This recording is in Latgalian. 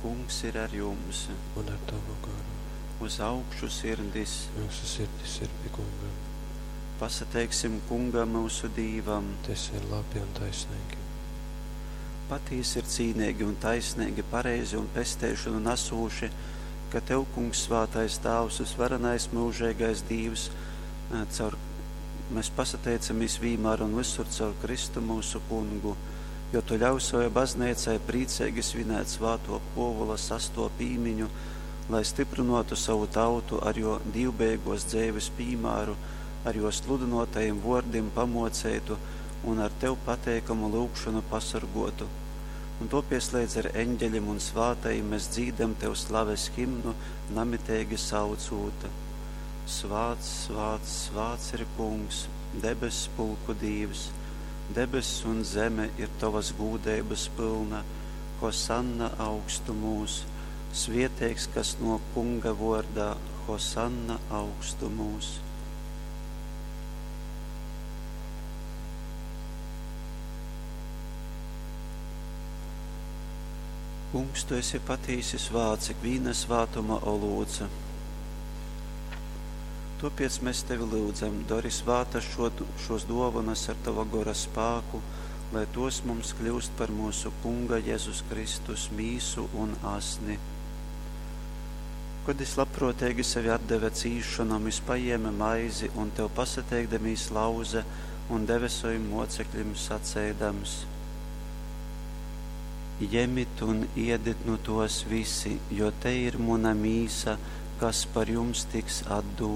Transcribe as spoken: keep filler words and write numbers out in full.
Kungs ir ar jums! Un ar tavu garu. Uz augšu sirdis! Myusu sirdis ir pi Kunga. Pasateiksim Kungam, myusu Dīvam! Tas ir labi un taisnīgi. Patīsi ir cīneigi un taisneigi, pareizi un pesteišonu nasūši, ka Tev, Kungs, svātais Tāvs, vysvarenais myužeigais Dīvs, caur, mēs pasateicamies vīmēr un visur caur Kristu mūsu Kungu, jo Tu ļauj savai bazneicai prīceigi svinēt svāto Pōvula sasto pīmiņu, lai stiprinotu savu tautu ar jo dīvbeigos dzeives pīmāru, ar jo sludynotajim vōrdim pamoceitu un ar Tev pateikamu lyugšonu pasorgotu. Un topies leidz ar eņģeļim un svātajim mēs dzīdam Tev slaves himnu, namiteigi saucūt. Svāts, svāts, svāts ir Kungs, debess pulku Dīvs, debess un zeme ir Tovas gūdeibas pylna, Hosanna augstumūs, svieteigs, kas nōk Kunga vōrdā, Hosanna augstumūs. Kungs, Tu esi patīsi svāts, ikvīna svātuma olūts. Tōpēc mēs Tevi lyudzam, dori svātas šo, šos dōvanas ar Tava gora spāku, lai tos mums kļūst par mūsu Kunga Jēzus Kristus mīsu un asni. Kad es labprōteigi sevi atdeve cīšanom, es paņēma maizi un Tev pasateikdamīs lauze un deve savim mocekļim saceidams: Jemit un iedit nu tos visi, jo te ir muna mīsa, kas par jums tiks atdūta.